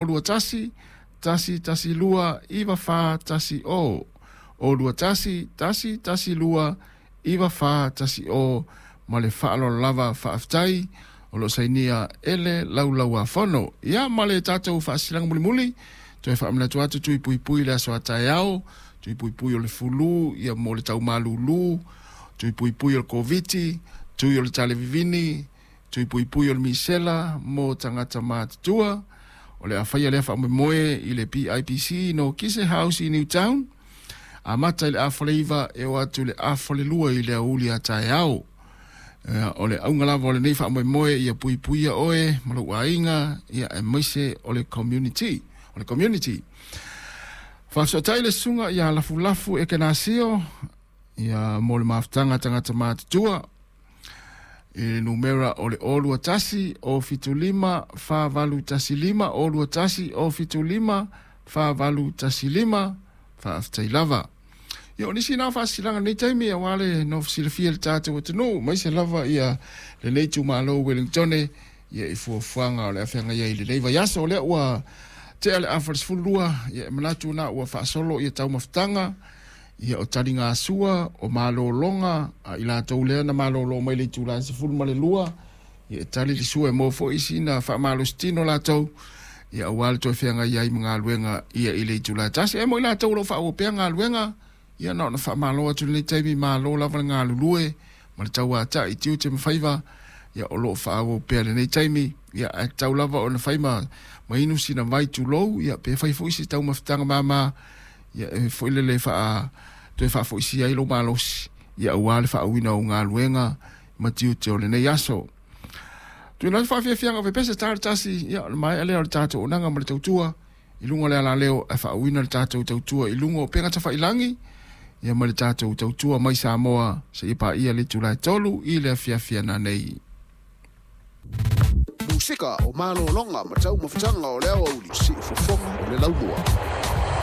21 1 1 2 9 4 1 0 O 2 1 1 1 2 9 4 1 0 ma le faaaloalo lava faafetai o loo sainia e le Laulau-a-Fono. Ia ma le tatou faasilaga mulimuli, toe faamanatu atu tui puipui le aso a taeao, tui puipui o le fulu, ia mo le taumalūlū, tui puipui o le Koviti, tui o le talevivini, tui puipui o le misela mo tagata matutua. O le a faia lea faamoemoe i le PIPC no Kise House i Newtown, amata i le 8:30 e oo atu i le 1:30 i le aoauli a taeao. O le auga lava o lenei faamoemoe ia puipuia oe ma lou aiga, ia aemaise o le community. O le community. Faafesootai le susuga ia Lafulafu Ekenasio ia mo le mafutaga tagata matutua i le numera o le 021 075 4815 021 075 4815. Faafetai lava. Ia, o nisi na faasilaga nei taimi aua le nofo silafia le tatou atunuu, maise lava ia lenei itumalo Wellingtone, ia i fuafuaga o le afeagai ai i lenei vaiaso. O lea ua tea le 11:30, ia e manatu na ua faasolo ia taumafataga, ia o taligasua, o malologa, a i latou lea na malolo mai le itula e 12, ia e tali le sua e maua foi sina faamalositino latou, ia aua le toe feagai ai ma galuega ia i le itula e 1. E mo i latou o lo o faaauau pea galuega, ia na ona faamalo atu lenei taimi, malo lava le galulue ma le tauatai i tiute ma faiva, ia o lo o faaauau pea lenei taimi, ia ae tatau lava ona fai ma inu sina vai tulou, ia pe fai foi se taumafataga mama, ia e foi lele faa toe faafoisia ai lou malosi, ia aua le faauiina o galuega ma tiute o lenei aso. Tuuina atu faafiafiaga o pepese ta le tasi, ia o le maea lea o le tatou onaga ma le tautua i luga o le alaleo ae faauiina le tatou tautua i luga o upega tafailagi, ia ma le tatou tautua mai Samoa seia paia le itula e 3 i le afiafi ana nei. Musika o malologa ma taumafataga o le aoauli, siufofoga o le laumua.